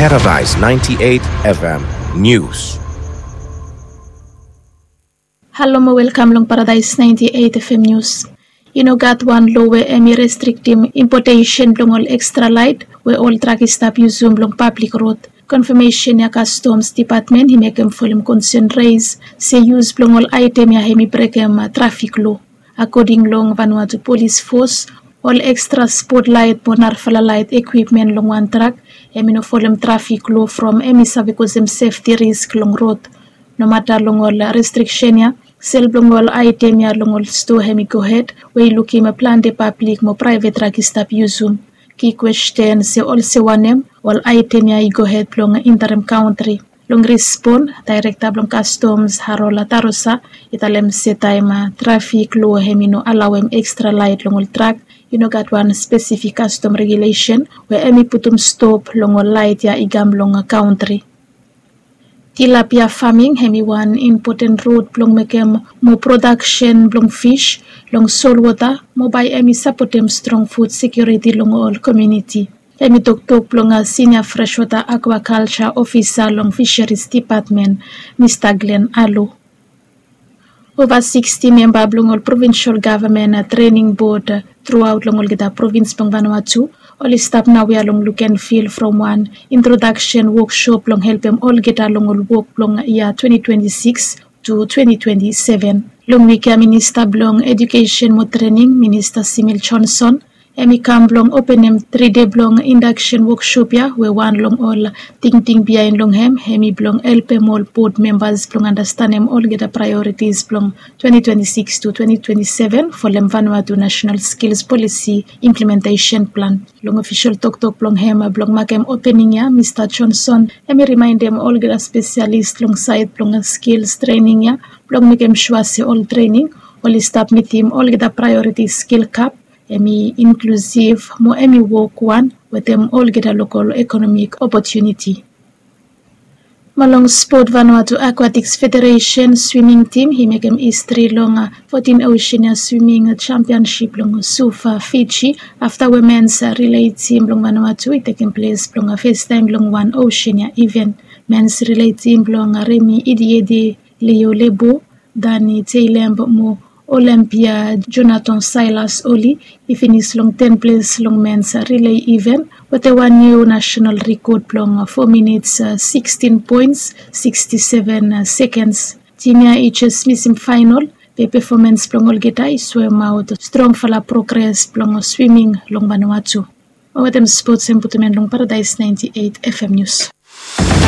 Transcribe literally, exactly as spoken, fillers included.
Paradise ninety-eight F M News. Halo mo welkam long Paradise ninety-eight F M News. I no gat wan lo we hemi restriktim impotesen blong ol ekstra laet we ol trak i stap yusum long pablik rod. Konfamesen ya Kastoms Depatmen i mekem folem konsen res se yus blong ol aetem ya hemi brekem trafik lo. Akoding long Vanuatu Polis Fos, ol ekstra spot laet mo narafala laet ekwipmen long wan trak hemi no folem trafik lo from hemi save kosem sefti risk long rod. Nomata long ol restriksen ya, sel blong ol aetem ya long ol stoa hemi gohed we i lukim plante pablik mo praevet trak i stap yusum. Ki kwesten se olsem wanem ol aetem ya i gohed blong entarem kantri. Long respon, daerekta blong Kastoms Harola Tarosa i talem se taem trafik lo hemi no alaoem ekstra laet long ol trak, i no gat wan spesifik kastom regulesen we hemi putum stop long ol laet ya i kam long kantri. Tilapia faming hemi wan impoten rod blong mekem moa prodaksen blong fis long solwota mo bae hemi sapotem strong fud sekiuriti long ol komuniti. Hemi toktok blong sinia freswota akwakalja ofisa long Fiseris Depatmen, Mista Glen Alo. Ova siksti memba blong ol provinsol gavman trening bod truaot long olgeta provins blong Vanuatu oli stap naoia long luk and fil from wan introdaksen woksop blong helpem olgeta long ol wok blong yia twenti twenti sikis tu twenti twenti seven. Long wik ya Minista blong Ejukesen mo Trening, Minista Simil Johnson, hemi kam blong openem tri dei blong indaksen woksop ya we wan long ol tingting biaen long hem hemi blong helpem ol bod membas blong andastanem olgeta praeoritis blong twenti twenti sikis tu twenti twenti seven folem Vanuatu Nasenal Skils Polisi Implementesen Plan. Long ofisol toktok blong hem blong makem opening ya, Mista Johnson hemi rimaendem olgeta spesialis long saed blong skils trening ya blong mekem sua se ol trening oli stap mitim olgeta praeoritis skil gap, hemi inklusiv mo hemi wok wan wetem olgeta lokol ekonomik opotuniti. Mo long spot, Vanuatu Akwatiks Federesen swiming tim i mekem histri long fotin Oceania Swiming Championship long Suva, Fiji, afta we mens rilei tim blong Vanuatu i tekem ples blong fastaem long wan Oceania iven. Mens rilei tim blong Remi Idiedi, Leo Lebo, Dani Teilemb mo Olympia Jonathan Silas oli i finis long ten ples long mens rilei iven wetem wan niu nasenal rekod blong fo minits sikstin poens siksti seven sekens. Tim ya i jes misim faenol be pefomans blong olgeta i soemaot strongfala progres blong swiming long Vanuatu. Mo wetem spots hem putum en long Paradise ninety eight F M News.